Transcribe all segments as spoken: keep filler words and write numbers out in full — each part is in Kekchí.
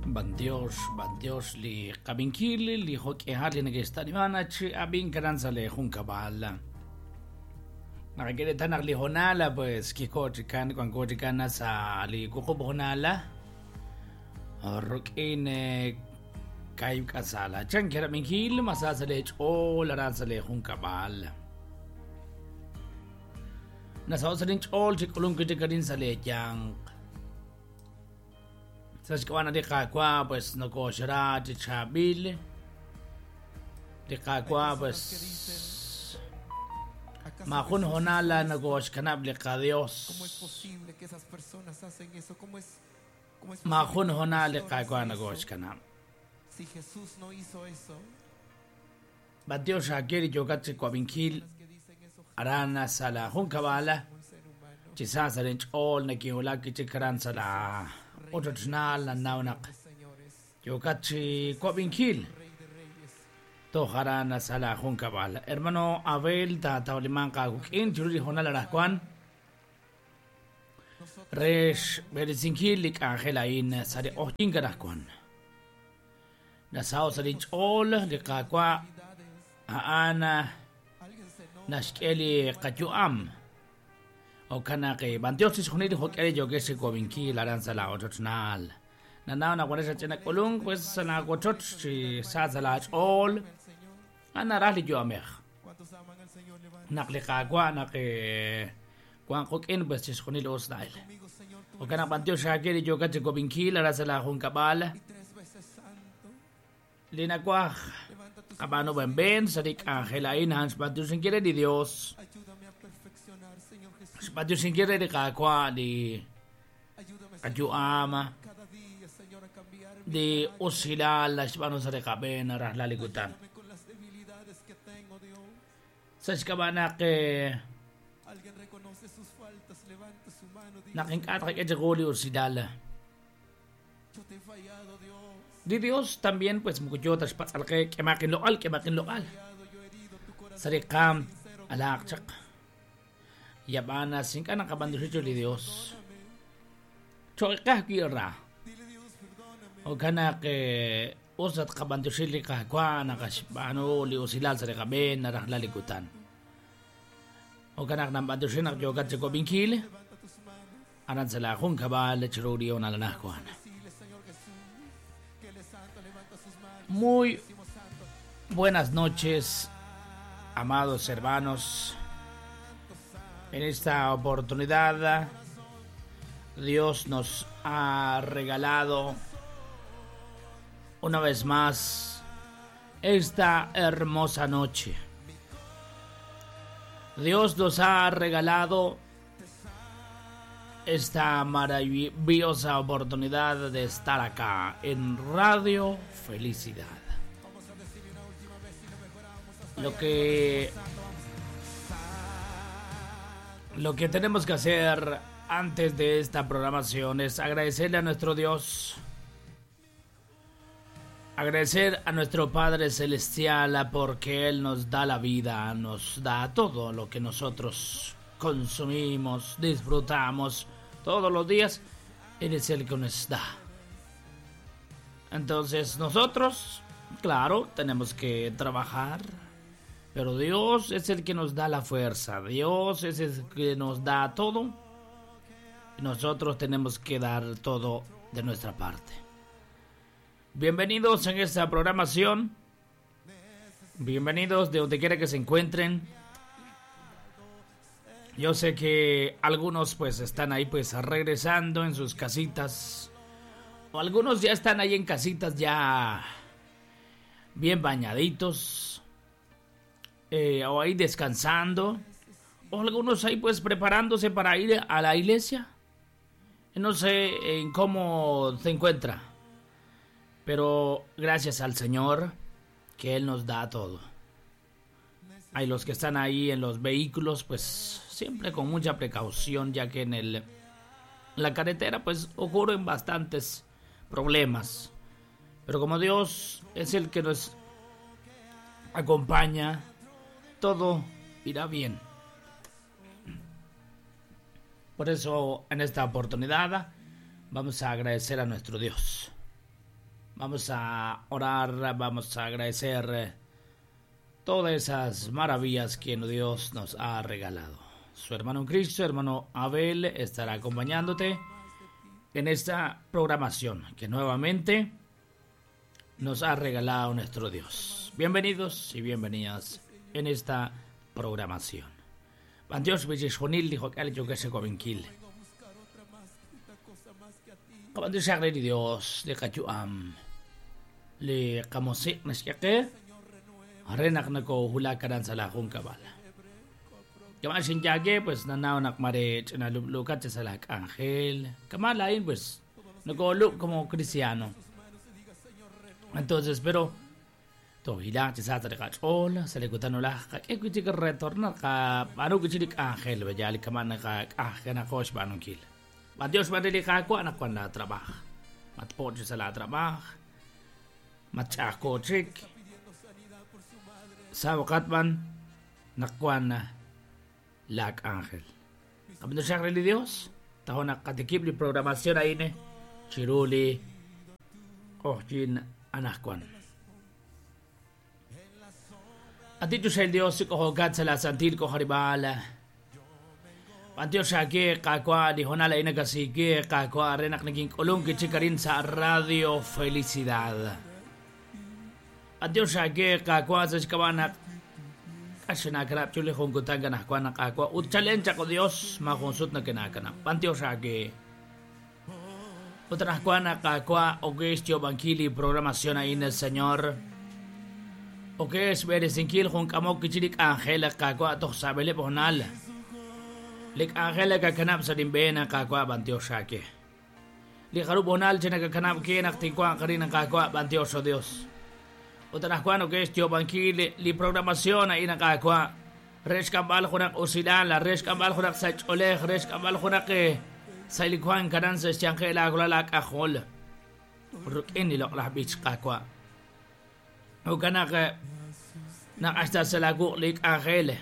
Bantiox, bantiox li qabinkil li jo'k'ihal li neke'xtanimana chi ab'inkaran sa' li junkab'al. Naqak'e naq li honala pues kikochikan wankochikan sa' li wuqub' honala ruk'in kayib' k'asala. Chan kerabinkil masa sa' li ch'ool aran sa' li junkab'al. Nasaw sa' linch'ool chi k'ulunk chikarin sa' li yanq. Sa' xk'ab'a' li Qaawa' pues nokoxra chi chaab'il. Li Qaawa' pues majun honala nokoxkanab' li qaDios. ¿Cómo es posible que esas personas hacen eso? ¿Cómo es, cómo es Majun posible que honal li los Qaawa' pastores hacen eso? nokoxkanab'. Si Jesús no hizo eso, Bantiox akeri yokat chi kuabinkil las que dicen eso arana sa la junkab'al como un ser humano, chi sa sa linch'ool nakiwulak chikaran sa la ochochnaal nanawnaq de señores, yokat chi kuabinkil Rey de Reyes. tojarana sa la junkab'al. Hermano Abel tatawliman qakuk'in chiruri honal arajkuan Nosotros rex berisinkil li k'anjel ain sa li q'ojyin karajkuan. Nasaw sa linch'ool li Qaawa' debilidades, a'an alguien se enoja, naxk'e li qayu'am. Okanaq bantiox chixjunil li jo'k'e yokex chi kuabinkil aran sa la ochochnaal. Nanaw naq sa ch'ina k'ulunk pues sa la wochoch chi sa sa la ch'ool el Señor. anaraj li yu'amej. ¿Cuántos aman al Señor? Levanten Naq li Qaawa' naq eh, wan quk'in pues chixjunil us na'el. conmigo, Señor, tú Okanaq bantiox xaak'e li yokat chi kuabinkil aran sa la junkab'al. y tres veces santo. Li nakuaj Levanta tus qab'anu benben sa li k'anjel a'in han xb'antioxinkil re li Dios. Ayúdame a perfeccionar, Señor Jesús. Xb'antioxinkil re li Qaawa' li Ayúdame Señor, qayu'am cada día, Señor, a cambiar mi li carácter. usilal xb'anu sa li qab'een rajlal li kutan. Ayúdame con las debilidades que tengo, Dios. Sa xk'ab'a naq eh, Alguien reconoce sus faltas, levanta su mano, diga, naq ink'a' tqak'e chiqu li usilal. yo te he fallado, Dios. Li Dios también pues mukuyota xpatz'alqe k'emaqin loq'al k'emaqin loq'al. Fallado, yo he herido tu corazón. Sa li qaam alaaq chaq. Yab'ana sink'a naqab'anduxichu li Dios. Cho'iqaj ki'ra. Dile, Dios, perdóname. Okanaq eh, usat qab'anduxil li Qaawa' naqaxb'aanu li usilal sa li qab'een narajlal li kutan. Okanaq namb'anduxil naq yokat chi kuab'inkil Levanta tus manos. aran sa la junkab'al chiru li onalanajkuan. Decile, Señor Jesús, que Él es santo. Levanta sus manos. Muy Decimos santo. buenas noches, amados hermanos. En esta oportunidad, Dios nos ha regalado una vez más esta hermosa noche. Dios nos ha regalado esta maravillosa oportunidad de estar acá en Radio Felicidad. Vamos a decirle una última vez y lo mejoramos hasta Lo allá. que Santo, vamos. Lo que tenemos que hacer antes de esta programación es agradecerle a nuestro Dios, agradecer a nuestro Padre Celestial porque Él nos da la vida, nos da todo lo que nosotros consumimos, disfrutamos todos los días. Él es el que nos da. Entonces nosotros, claro, tenemos que trabajar. Pero Dios es el que nos da la fuerza, Dios es el que nos da todo. Y nosotros tenemos que dar todo de nuestra parte. Bienvenidos en esta programación. Bienvenidos de donde quiera que se encuentren. Yo sé que algunos pues están ahí pues regresando en sus casitas. O algunos ya están ahí en casitas ya bien bañaditos. Eh, o ahí descansando, o algunos ahí pues preparándose para ir a la iglesia. No sé en cómo se encuentra, pero gracias al Señor que Él nos da todo. Hay los que están ahí en los vehículos, pues siempre con mucha precaución, ya que en el la carretera pues ocurren bastantes problemas. Pero como Dios es el que nos acompaña, todo irá bien. Por eso, en esta oportunidad, vamos a agradecer a nuestro Dios. Vamos a orar, vamos a agradecer todas esas maravillas que Dios nos ha regalado. Su hermano en Cristo, hermano Abel, estará acompañándote en esta programación que nuevamente nos ha regalado nuestro Dios. Bienvenidos y bienvenidas en esta programación. Dios dijo que yo que se cominkil. Dios de Cachuam. Le kamosik nasyake renak nako hula karan sa lakong kabala. Kama sinyage pues nanaw nakmare chinalublukat sa lak ángel. Kamalain pues nagolo como cristiano. Entonces pero to hila sa tari ka chol sa likutan nula ka ekuti ka retornar ka ano kuchilik ángel bajali kaman ka ah kana kosh banong kil. Dios madili ka ko anak ko na trabaho. Matpo sa la trabaho. Machako chik sa wakatman nakwan na lak ángel. Kabino siya ni Dios, taho nakatikip li programación ahí chiruli ojin anakwan. At dito siya el Dios kohogat sa lasantil ko haribala. Pantiyo siya ke kakwa di honala inagasige kakwa renak naging ulong kichikarin sa Radio Felicidad. At Dios ake kakwa sa kawanak kasinakrap chuli kung kutanga na kwa nakakwa utchallenge ako Dios makonsut na kinakana. Pantiyo ake utranakwa nakakwa ogestio bankili programación ahí en el Señor. Oges berezinkil kung kamok kichilik angela kakwa toh sabele ponal. Lik angela kakanap sa dimbena kakwa pantiyo ake. Li harub onal chinakakanap kinak tikwa karin kakwa pantiyo Dios. Utanascuano que es Tiobanquil, li programación ahí nakakwa. Res kambal junak usilala, res kambal junak sacholej, res kambal junak sailikuan karan sa siyangkela kulalak akol. Rukin nilok lah bich kakwa. Ukanak nakasta sa lagu lik angel,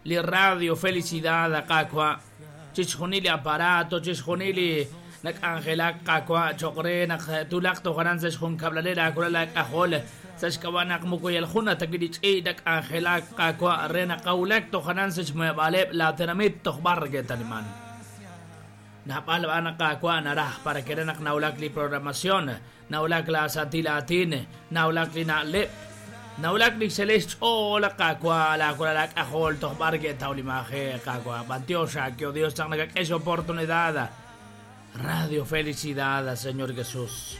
li radio felicidad kakwa. Chichunili aparato, chichunili nak-angelak kakwa, chokre, nak-tulak to karan sa siyang kablalera kulalak akol. Sashkawanak mukuyal khuna tagidich idak angelak kakwa rena kaulak to kanan sa shmuebaleb la tenamit to barge taliman. Napal anak kakwa narah para kerenak naulak li programación, naulak la satilatin, naulak li nalep, naulak li celeste o la kakwa la kulalak ahol to barge taulimaje kakwa. Bantiosa que Dios tan nagak esa oportunidad. Radio Felicidad, Señor Jesús.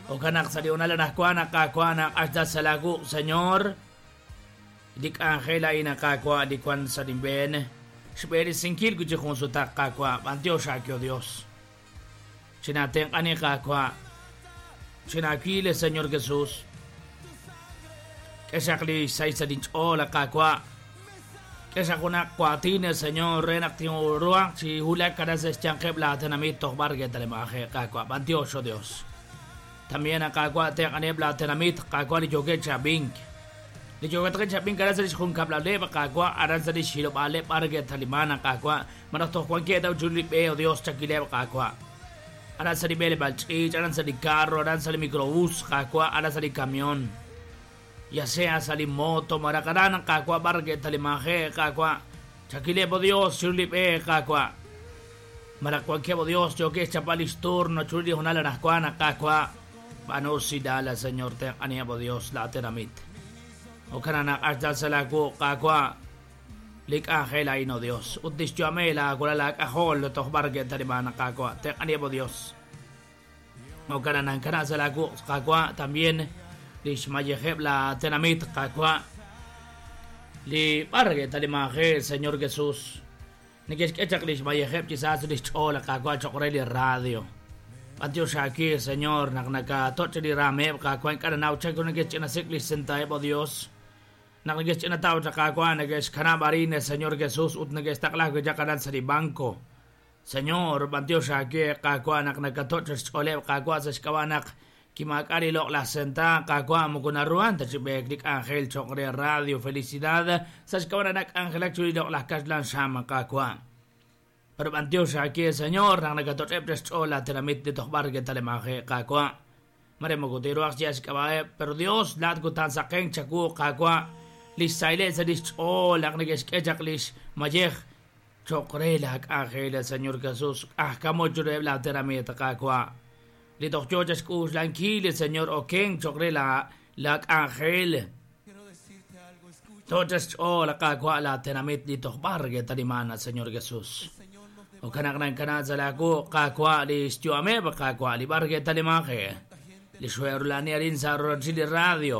O kanak sa liunala nakwana kakwana hasta sa lagu, Señor. Dik angela ina kakwa di kwan sa dimben. Shperi sinkil kuchi konsulta kakwa. Antiosa kyo Dios. Chinaten ani kakwa. Chinakile, Señor Jesús. Kesakli sa isa din ola kakwa. Kesakuna kwatine, Señor. Renak tinuruang si hulak kada sa siyangkep lahat na mitok barge talemaje kakwa. Antioso Dios. También acá te anebla tenamit kakwa li joge chabink li joge chabink kada sa jun kablale kakwa aran sa shilo bale parge talimana kakwa manato kwan ke daw julip eh Dios chakile kakwa aran sa bele balchi aran sa carro aran sa microbús kakwa aran sa camión ya sea sa moto marakaran kakwa barge talimaje kakwa chakile bo Dios julip eh kakwa marakwa ke bo Dios joge chapalis turno chuli honala nakwana kakwa Panosidala, Señor, te aniabo Dios, la teramit. O kanana arjal salaku kakwa lik angela ino Dios. Utis jamela kulalak ahol toh barge tarimana kakwa te aniabo Dios. O kanana kana salaku kakwa también lishmayeheb la tenamit kakwa li barge tarimaje, Señor Jesús. Nikes echak lishmayeheb quizás lichola kakwa chokreli radio. Dios aquí, Señor, naknaka tocheli rameb kakwa kananaw chako nagech na siklis Dios. Naknagech na tao kakwa nagesh kanabarine, Señor Jesús, ut nagesh takla jakaran sa banco. Señor, Dios aquí kakwa naknaka tochel oleb kakwa sa shkawanak kimakari lok la senta kakwa mukunaruan tachibek ángel chokre radio felicidad sa shkawanak ángel chuli lok la kaslan shama kakwa. Pero Dios aquí, Señor, nang nagatotrep chola teramit de tohbar que talemaje kakwa. Mare moko teruaq xk'ab'a'eb pero Dios laat kutan saqen chaku qaawa' lix sayleb' sa' lix ch'ool naq neke'xk'e chaq lix mayej choq re la k'anjel el Señor Jesús ajkamo chureb la tenamit qaawa' li toj yoo chaxk'uxlankil el Señor oken choq re la la k'anjel Quiero decirte algo, escucha. toj chaxch'ool qaawa' la tenamit li toj b'ar ketaliman al Señor Jesús El Señor nos o kanak nan kana zalaku qaawa' li xyu'ameb qaawa' li b'ar ketalimaje gente li xwe'rulani arin sa' rochil radio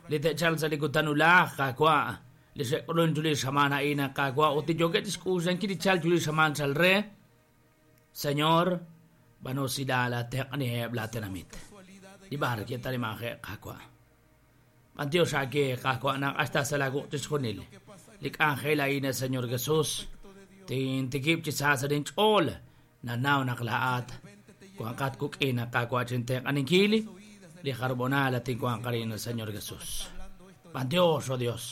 li te'chal sa' li kutanulaj qaawa' li xe'k'ulun chuli xamaan a'in qaawa' ut li yookeb' chixk'uxlankil li chal chuli xamaan chal re Señor b'anusilal la teq'niheb' la tenamit casualidad li b'ar ketalimaje qaawa' b'antiox ake qaawa' naq hasta sa' la guq chixjunil que pasa li k'anjel a'in el Señor Jesús de Dios. tintikib' chi sa' sa' linch'ool nanaw naq la'at Vente te wanqat kuk'in qaawa' chinteq'aninkil li jarbonal tinwanqarin el Señor Jesús hablando esto b'antiox oh Dios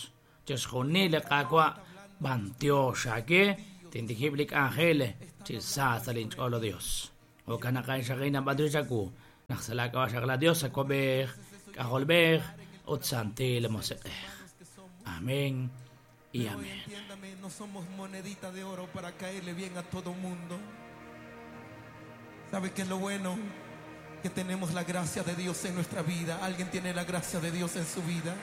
chixjunil li qaawa' b'antiox ake tintikib' li k'anjel chi sa' sa' linch'ool oh Dios jo'kan naq a'in b'antiox chaku naq sa' laak'ab'a' xaq la Dios akob'ej k'ajolb'ej ut santil musiq'ej que somos. amén y Pero amén. entiéndame, no somos monedita de oro para caerle bien a todo mundo. ¿Sabe qué es lo bueno? Que tenemos la gracia de Dios en nuestra vida. ¿Alguien tiene la gracia de Dios en su vida?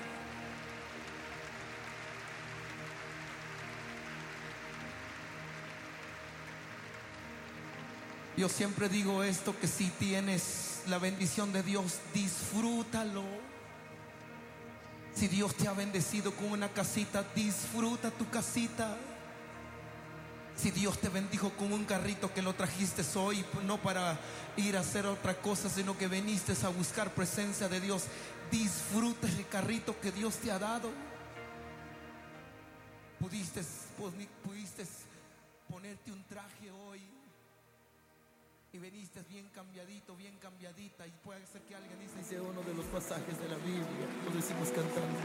Yo siempre digo esto, que si tienes la bendición de Dios, disfrútalo. Si Dios te ha bendecido con una casita, disfruta tu casita. Si Dios te bendijo con un carrito que lo trajiste hoy, no para ir a hacer otra cosa, sino que viniste a buscar presencia de Dios, disfruta el carrito que Dios te ha dado. Pudiste, pudiste ponerte un traje hoy y viniste bien cambiadito, bien cambiadita, y puede ser que alguien dice, dice uno de los pasajes de la Biblia, lo decimos cantando.